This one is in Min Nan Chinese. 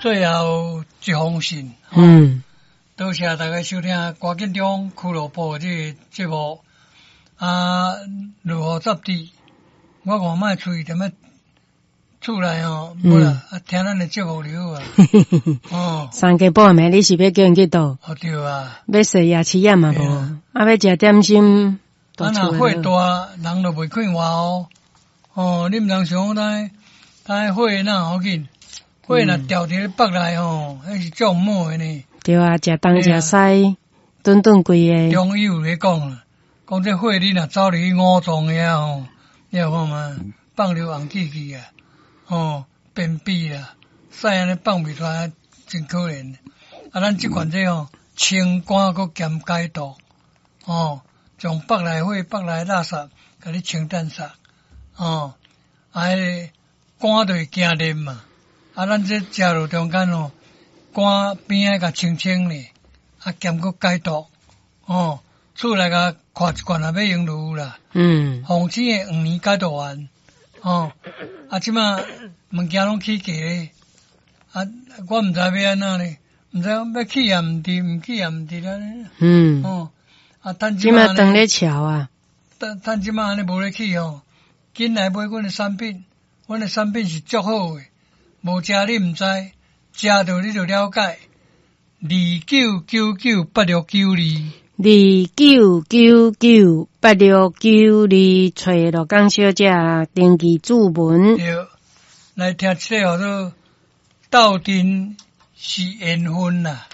最後一封信。多謝大家收聽歌緊張俱樂部這个節目。啊，如何雜誌？我看覓喙踮咧厝內吼，無啦，啊，聽咱的節目就好啊。哦，三更半暝，你是欲叫𪜶去佗？哦對啊。欲刷牙齒仔嘛無，啊，欲食點心。啊，若火大，人就袂快活哦。哦，你毋通想講，他火若好緊，火若牢佇咧腹內吼，彼是足毋好的呢。對啊，食東食西，頓頓規个。中醫有咧講啦，講這火你若走入去五臟遐吼，你有看嗎？放尿紅氣氣啊，吼，便秘啦，屎按呢放袂出來，真可憐。啊，咱這款這吼，清肝閣兼解毒，吼，將腹內火、腹內垃圾，共你清淡煞，吼，啊，彼个肝就會驚熱嘛，啊，咱這食落中間吼，肝邊仔共清清咧，啊，兼閣解毒，吼，厝內共看一罐也欲用就有啦。防止的黃連解毒丸，吼，啊，這馬物件攏起價咧，啊，我毋知欲按怎咧，毋知欲起也毋對，毋起也毋對咧。哦，啊，趁這馬當咧潮啊。趁趁這馬按呢無咧起吼，緊來買阮的產品，阮的產品是足好的，無食你毋知，食著你就了解。29998692，29998692，揣鹿港小姐登記注文。對，來聽這个叫做鬥陣是緣分啦。